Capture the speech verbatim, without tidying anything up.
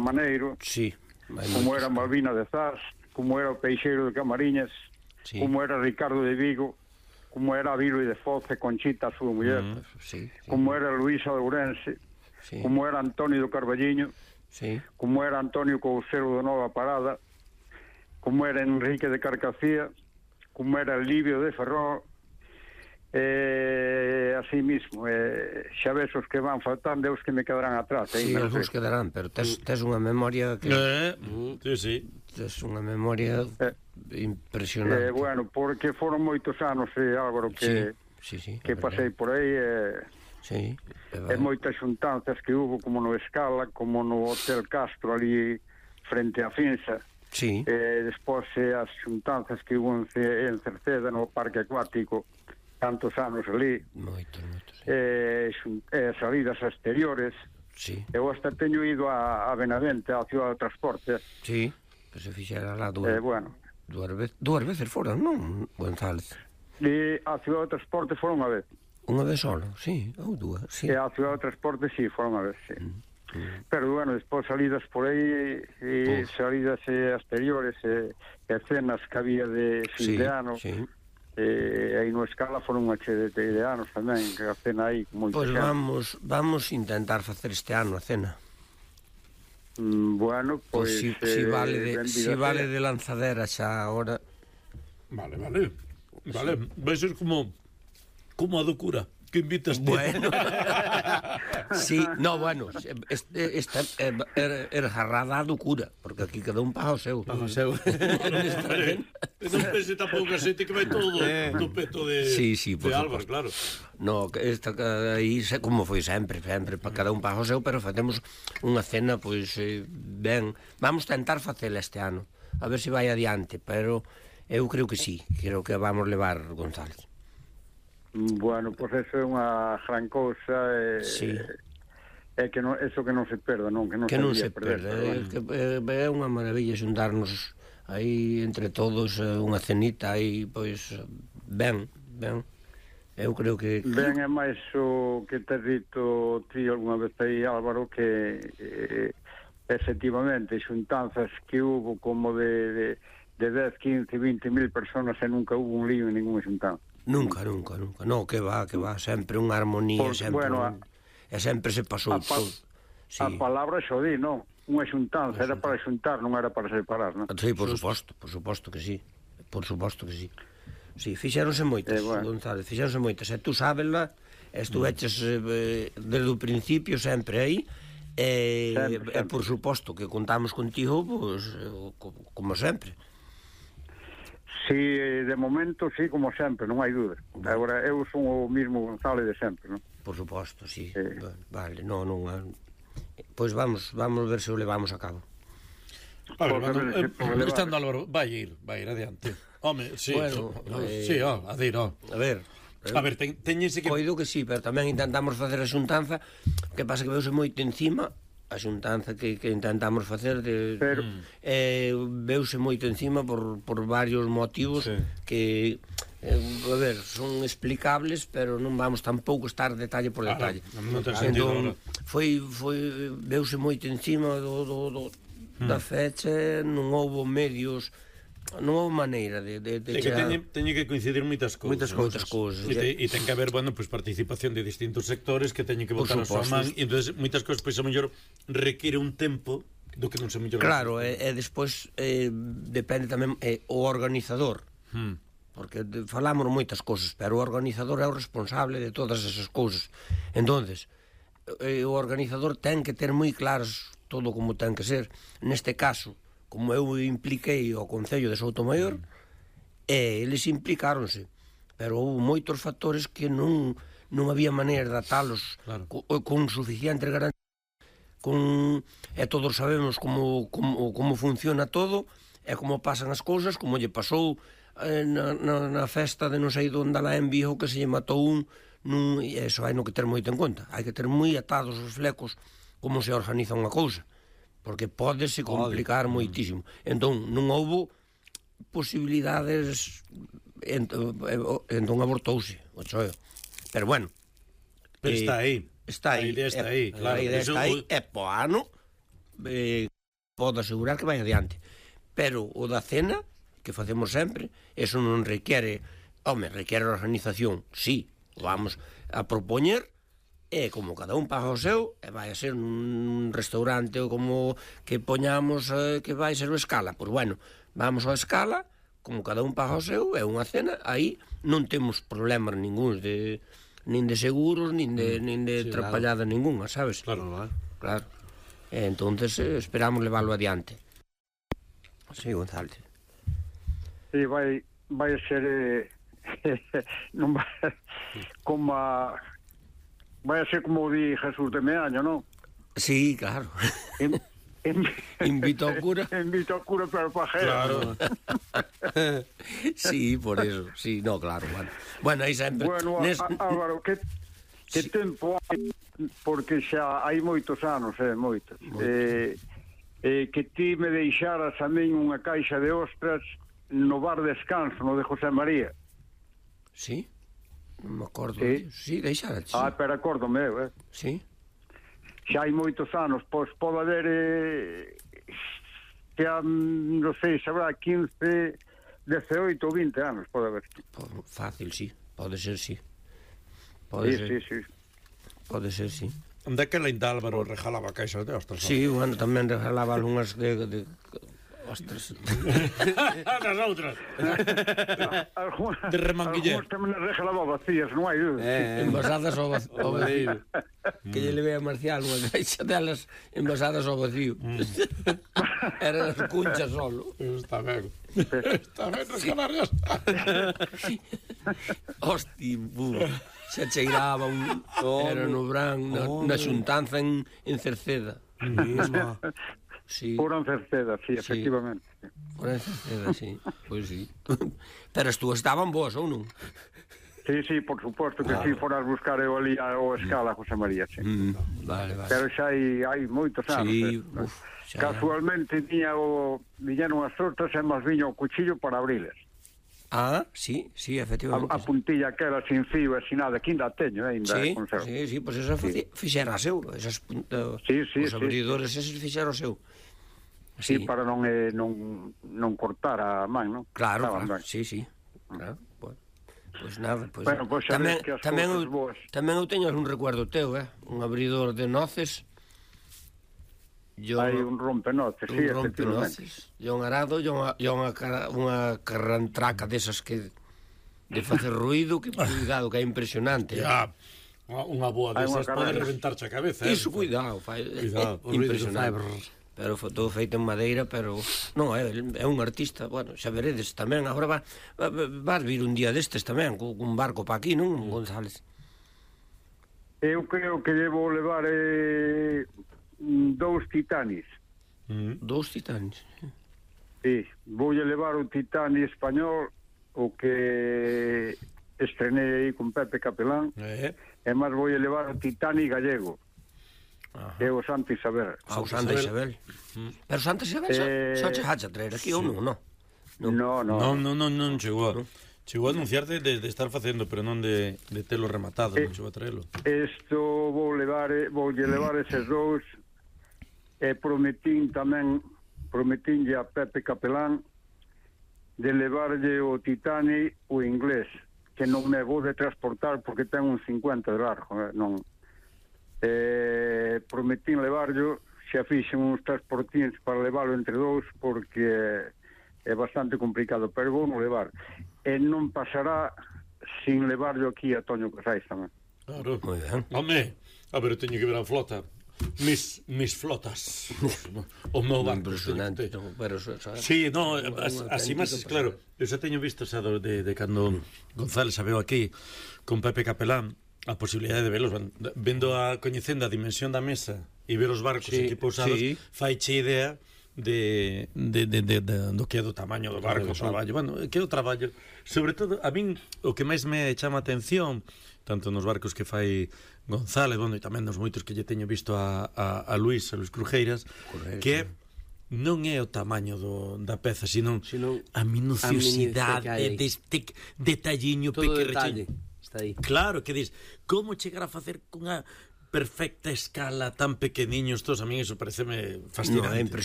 Maneiro, sí, como era Malvina de Zas, como era o Peixeiro de Camariñas, sí. Como era Ricardo de Vigo, como era Vilo de Foce, Conchita, a súa muller, mm, sí, sí. Como era Luísa de Ourense, sí. Como era Antonio do Carballiño, sí. Como era Antonio Couceiro de Nova Parada, como era Enrique de Carcacía, como era Livio de Ferrol, eh, así mismo, eh, xa ves os que van faltando e os que me quedarán atrás. Sí, eh, algúns quedarán, pero tes, tes unha memoria que... Eh, mm, sí, sí. Tes unha memoria eh, impresionante. Eh, bueno, porque foron moitos anos, eh, Álvaro, que, sí, sí, sí, que pasei por aí, eh, sí, e moitas xuntanzas que hubo, como no Escala, como no Hotel Castro, ali frente a Finsa. Sí. Eh, despois eh, as xuntanzas que hubo en, en Cerceda, no Parque Acuático, tantos anos ali, moitos, moitos, sí. eh, eh, salidas exteriores, sí. Eu hasta teño ido a, a Benavente, a Ciudad de Transporte, sí, que se fixera lá dúas, eh, bueno. dúas, vez, dúas veces foran, non, González? E a Ciudad de Transporte foron unha vez. Unha vez solo, sí, ou dúas, sí. E a Ciudad de Transporte, sí, foron unha vez, sí. Mm. Mm. Pero, bueno, despois salidas por aí, e salidas eh, exteriores, e eh, escenas que había de fin sí, de ano, sí. Eh, aí no Escala foron unha che de, de anos tamén, que a cena aí moito. Pois pues vamos, vamos intentar facer este ano a cena. Mm, bueno, pois pues, pues si, eh, si vale de si vale de lanzadera xa agora. Vale, vale. Vale, sí. Vai ser como como a do cura que invitas ti. Bueno. Sí, no, bueno, este, esta era, era jarrada do cura, porque aquí cada un paga o seu. Paga o seu. Non pense tampouco a xente que vai todo do peto de, sí, sí, de Álvaro, claro. No, esta aí, como foi sempre, sempre, para cada un paga o seu, pero facemos unha cena, pois, eh, ben, vamos tentar facela este ano, a ver se vai adiante, pero eu creo que sí, creo que vamos levar González. Bueno, pois pues eso é unha gran cousa, e, sí. É que non, eso que non se perda, non? Que non, que se, non se perda, é, que, é unha maravilla xuntarnos aí entre todos, unha cenita aí, pois, ben, ben, eu creo que... Ben, é máis o que te dito ti alguna vez aí, Álvaro, que eh, efectivamente xuntanzas que hubo como de, de, de dez, quince, vinte mil personas e nunca hubo un lío en ninguna xuntanza. Nunca, nunca, nunca, no, que va, que va, sempre unha armonía, por, sempre, bueno, un, e sempre se pasou pa, todo. Sí. A palabra xo di, non? Unha xuntanza, era para xuntar, non era para separar, non? Sí, por suposto, por suposto que sí, por suposto que sí. Sí, fixéronse moitas, eh, bueno. González, fixéronse moitas, e tú sábela, estuveches eh, desde o principio sempre aí, e, sempre, sempre. e por suposto que contamos contigo, pues, como sempre. Sí, de momento, sí, como sempre, non hai dúda. Bueno. Agora, eu son o mismo González de sempre, non? Por suposto, sí. Eh. Vale, non, non... Pois vamos, vamos ver se o levamos a cabo. A ver, cando, eh, estando Álvaro, vai ir, vai ir adiante. Home, sí, bueno, no, eh, sí, ó, a dir, ó. A ver... A ver, ten, teñese que... Coido que sí, pero tamén intentamos facer a xuntanza, que pasa que veuse moito encima... a xuntanza que, que intentamos facer de, pero, eh, veuse moito encima por, por varios motivos, sí. Que eh, a ver, son explicables, pero non vamos tampouco estar detalle por detalle. Ah, non, non ten sentido, entón, foi, foi, veuse moito encima do, do, do, hmm. da fecha, non houbo medios, non houve maneira de, de, de sí, que teñe, teñe que coincidir moitas cousas, moitas, moitas cousas e, te, e ten que haber, bueno, pues, participación de distintos sectores que teñen que botar a súa man, e entonces moitas cousas, pois, pues, a mellor require un tempo do que non se mellor. Claro, e, e despois eh, depende tamén eh, o organizador, hmm. porque de, falamos moitas cousas, pero o organizador é o responsable de todas esas cousas. Entonces, eh, o organizador ten que ter moi claros todo como ten que ser. Neste caso, como eu impliquei ao Concello de Soutomaior, mm. e eles implicáronse, pero houve moitos factores que non non había maneira de atalos, claro. co, con suficiente garantías, con, e todos sabemos como, como, como funciona todo, e como pasan as cousas, como lle pasou eh, na, na, na festa de non sei onde lá en Vigo, que se lle matou un, nun, e eso hai no que ter moito en conta, hai que ter moi atados os flecos como se organiza unha cousa, porque pódese complicar moitísimo. Entón, non houbo posibilidades, entón abortouse o choeo. Pero bueno, pero está aí. Está aí. A idea está aí, claro. A idea está aí, e po ano, eh, podo asegurar que vai adiante. Pero o da cena, que facemos sempre, eso non requiere, home, requiere organización, sí, vamos a propoñer, e como cada un paga o seu, e vai a ser un restaurante ou como que poñamos eh, que vai ser o Escala, pois bueno, vamos ao Escala, como cada un paga o seu, é unha cena, aí non temos problemas ningúns de nin de seguros, nin de, nin de sí, trapallada claro. Ninguna, sabes? Claro, claro. Claro. E entonces eh, esperamos leválo adiante. Sí, González. Sí, vai, vai ser eh, non vai, como a, vai a ser como di Jesús de Meaño, non? Sí, claro. En, en, invito ao cura. Invito ao cura para o pajero. Claro. Sí, por eso. Sí, no, claro. Bueno, bueno aí sempre... Bueno, Nes... Álvaro, que, que sí. Tempo hai, porque xa hai moitos anos, eh, moitos. moitos. Eh, eh, que ti me deixaras a min unha caixa de ostras no bar Descanso, no de José María. Sí? Non me acordo. Sí, sí deixaras. Ah, pero acordo meu, eh? Sí. Xa hai moitos anos, pois pode haber eh, que a, non sei, sabrá quince, dezaoito ou vinte anos, pode haber. Fácil, sí, pode ser, sí. Pode sí, ser. sí, sí. Pode ser, sí. Daquela ainda Álvaro rejalaba caixas de ostras. Sí, bueno, tamén rejalaba algunhas de... de... ostras. As outras. De remanguiller. Algúns tamén regalaba vacías, non hai duda. Eh, envasadas ao vacío. Que lle levei a Marcial unha caixa delas envasadas ao vacío. Mm. Eran as cunchas solo. Está ben. Está ben regalar as. Hosti, bu. Se cheiraba un... Oh, era no Bran, na, oh, na xuntanza en, en Cerceda. Mesma. Sí. Por en Cerceda, sí, efectivamente. Sí. Por en Cerceda, sí. Pois pues sí. Pero as túas estaban boas, ou non? Sí, sí, por suposto que claro. Si foras buscar eu ali ao Escala, José María, sí. Mm, vale, vale. Pero xa hai, hai moitos anos. Sí, eh. uf, xa... Casualmente tiña o... viñeron as tortas e máis viño o cuchillo para abriles. Ah, sí, sí, efectivamente. A, a puntilla que era sin fío e sin nada, que ainda teño, eh, ainda sí, conservo. Sí, sí, pois pues eso sí. Fixera a seu, esas puntas, sí, sí, os abridores, sí, eses fixera o seu. Sí, sí, para non eh, non non cortar a man, non? Claro, claro, sí, sí. Claro, pois pues, pues nada, pois pues, bueno, pues tamén tamén eu, boas. tamén eu teño un recuerdo teu, eh, un abridor de noces. Yo, hai un rompenoces, un sí, rompenoces. Yo un arado, yo unha, yo unha, unha carrantraca desas que de facer ruido, que cuidado, que é impresionante. Ya, unha boa desas pode reventarche a cabeza. Iso, eh, cuidado, fai, cuidado, é impresionante. Pero foi todo feito en madeira, pero non, é, é un artista, bueno, xa veredes tamén, agora va, va, vas vir un día destes tamén, con un barco pa aquí, non, González? Eu creo que debo levar eh, dous titanis. Mm. Dous titanis? Sí, vou levar o titani español, o que estrenei aí con Pepe Capelán, eh. e máis vou levar o titani gallego. Ajá. É o Santa Isabel. Ah, o Santa Isabel. Mm. Pero Santa Isabel eh... xa, xa che hacha traer aquí, sí. Ou non, non? No, no, no, no, no, non chegou a... Chegou a anunciarte de, de estar facendo, pero non de, de telo rematado, eh, non chegou a traelo. Isto vou levar, vou levar eses dous, e prometín tamén, prometínlle a Pepe Capelán de levarlle o Titani o inglés, que non me vou de transportar porque ten un cincuenta de largo, eh, non... Eh, prometín levarlo, xa fixen uns transportins para levarlo entre dous porque é bastante complicado, pero vou non levar, e non pasará sin levarlo aquí a Toño Casais tamén. Claro, moi ben. Home, a ver, teño que ver a flota, mis, mis flotas, o meu barco impresionante, no, pero so, so, sí, no, as, así máis, claro, eu xa teño visto xa de, de cando González a veo aquí con Pepe Capelán a posibilidade de velos, vendo a coñecendo a dimensión da mesa e ver os barcos sí, aquí pousados, sí. Faiche idea de, de, de, de, de do que é do tamaño do barco, o traballo, bueno, que é o traballo, sobre todo, a min o que máis me chama a atención, tanto nos barcos que fai González, bueno, e tamén nos moitos que lle teño visto a, a, a Luís, a Luís Crujeiras, correcto, que non é o tamaño do, da peza, sino, sino a minuciosidade deste detalliño pequeno. Aí. Claro, que dis, como chegar a facer cunha perfecta escala tan pequeniños todos, a mí eso pareceme fascinante. No, é impresionante.